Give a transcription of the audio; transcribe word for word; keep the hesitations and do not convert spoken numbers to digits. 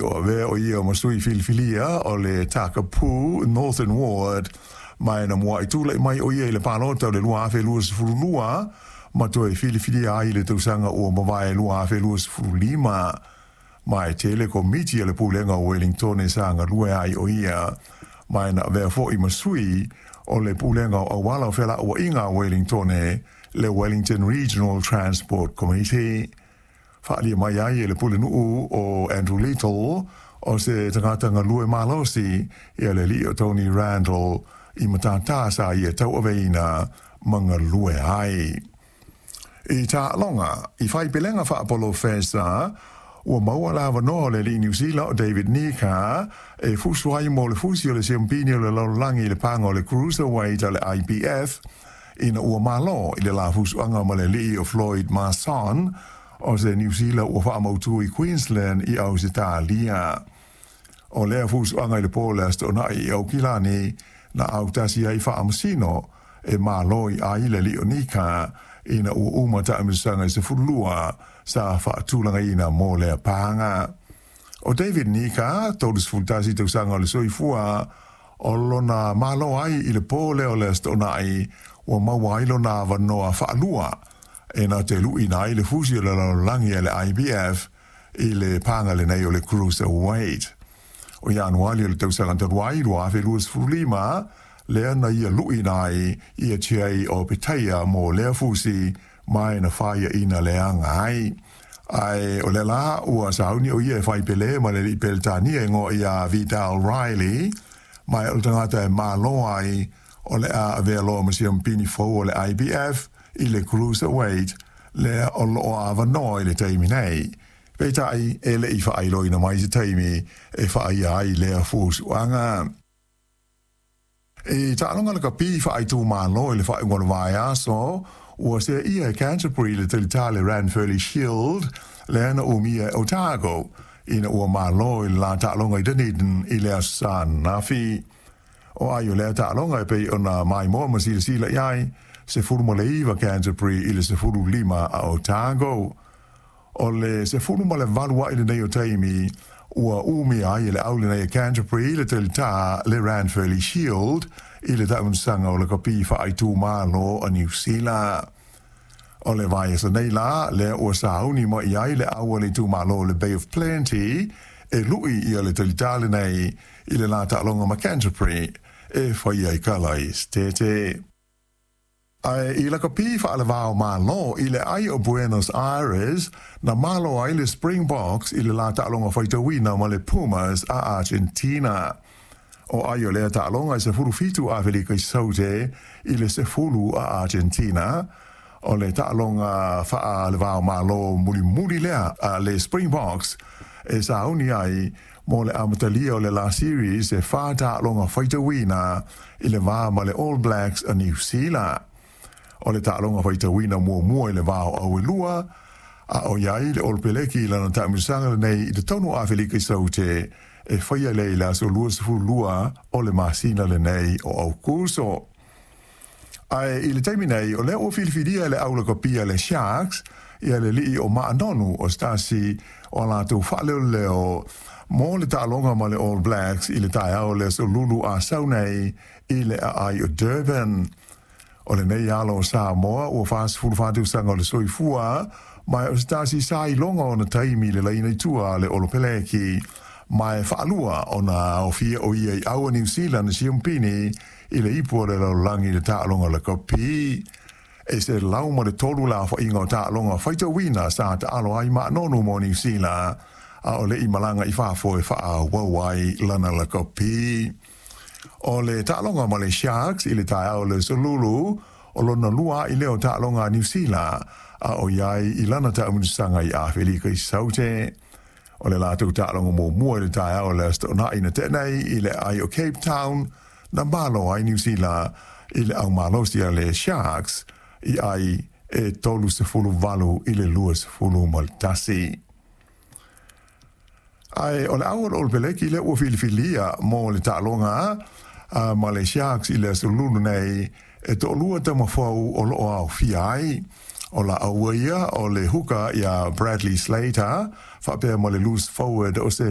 o avea o ia ma sui filifilia o le Takapu Northern Ward, ma e na mua'i tula'i mai o ia i le palota o le lua afe luasefulu lua ma toe filifilia ai i le tausaga ua mavae lua afe luasefulu lima. Ma e tele komiti a le pulega o Wellington sa galue ai o ia, ma e na avea fo'i ma sui o le pulega o auala o fela'ua'iga a Wellington, le Wellington Regional Transport Committee. Fa'alia mai ai e le pulenu'u o Andrew Little o se tagata galue malosi ia le ali'i o Tony Randall i matatā sa ia tau'aveina ma galue ai. I ta'aloga i faipelega fa'apolofesa, ua maua le avanoa o le ali'i Niusila o David Nika e fusu ai mo le fusi o le siampini o le lalolagi i le paga o le cruiserweight a le I B F, ina ua mālō i le la fusu'aga ma le ali'i o Floyd Mason o se Niusila ua fa'amautū i Queensland i Ausetalia. O lea fusu'aga i le pō le aso To'ona'i i Aukilani na autasi ai fa'amasino e mālō i ai le ali'i o Nika ina ua uma ta'amilosaga i sefululua sa fa'atulagaina mo lea paga. O David Nika, tolu tasi tausaga o le soifua, o lona mālō ai i le pō lea o le aso To'ona'i ua maua ai lona avanoa fa'alua e na te lu'ina ai le fusi o le lalolagi a le I B F i le paga lenei o le cruiserweight. O Ianuali o le tausaga talu ai lua afe luasefulu lima, lea na ia lu'ina ai ia tiai o Petaia mo lea fusi ma e na faia'ina leaga ai. Ae o le la ua sauni o ia e faipelē ma le ali'i Peletania e goa ia Vidal Riley, ma e o le tagata e mālō ai o le a avea loa ma siampini fou o le I B F i le cruiserweight lea o lo'o avanoa i le taimi nei. Peita'i e le'i fa'ailoina mai se taimi e fa'aia ai lea fusu'aga. I ta'aloga lakapi fa'aitumālō i le fa'aiuga o le vaiaso, ua se'ia e Canterbury le talitā le Ranfurly Shield lea na umia e Otago ina ua mālō i le la ta'aloga i Dunedin i le aso sa anafi. O ai o lea ta'aloga e pei ona maimoa ma silasila i ai, sefulu ma le iva Canterbury i le sefulu lima a Otago. O le sefulu ma le valu a'i lenei o taimi ua umia ai e le au lenei e Canterbury le talitā le Ranfurly Shield i le ta'amilosaga o lakapi fa'aitumālō a Niu Sila. O le vaiaso nei la lea ua sauni mai ai le au a le itumālō le Bay of Plenty e lu'i ia le talitā lenei i le la ta'aloga ma Canterbury e faia i kala i Stete. Ae i lakapi fa'alevao mālō i le ai o Buenos Aires, na malo ai le Springboks i le la ta'aloga faitauina ma le Pumas a Argentina. O ai o lea ta'aloga i sefulu fitu Afelika i Saute i le sefulu a Argentina, o le ta'aloga fa'alevao mālō mulimuli lea a le Springboks e sauni ai mo le amatalia o le la series e whā ta'aloga faitauina i le vā ma le All Blacks a New Zealand. O le ta'aloga faitauina muamua i le vā o Auelua, a o iai le Olopeleki i lana ta'amilosaga lenei i totonu o Afelika i Saute e faia lea i le aso luasefulu lua o le masina lenei o Aukuso. Ae i le taimi nei, o lea ua filifilia e le au lakapia le Sharks ia le ali'i o Ma'anonu o se tasi o a latou fa'aleoleo mo le ta'aloga ma le All Blacks i le taeao le aso Lulu asau nei i le a'ai o Durban. O lenei alo o Samoa ua fa'asefulu fa'atausaga o le soifua, ma e o se tasi sa iloga ona taimi i le laina i tua a le Olopeleki, ma e fa'alua ona aofia o ia i au a Niu Sila na siampini i le ipu o le lalolagi i le ta'aloga lakapi. E se lau ma le tolu la afa'iga o ta'aloga faitauina sa ta'alo ai Ma'anonu mo Niu Sila, a o le'i malaga i fafo e fa'aauau ai lana lakapi. O le ta'aloga ma le Sharks i le taeao le aso Lulu, o lona lua a'i lea o ta'aloga a Niu Sila, a o iai i lana ta'amilosaga i Afelika i Saute. O le latou ta'aloga muamua i le taeao le aso To'ona'i na te'a nei i le aai o Cape Town, na malo ai Niu Sila i le aumalosi a le Sharks i ai e tolu sefulu valu i le luasefulu ma le tasi. Ae o le au o le Olopeleki lea ua filifilia mo le ta'aloga ma le Sharks i le aso Lulu nei e to'alua tamafou o lo'o aofia ai. O la aua ia o le huka ia Bradley Slater fa'apea ma le loose forward o se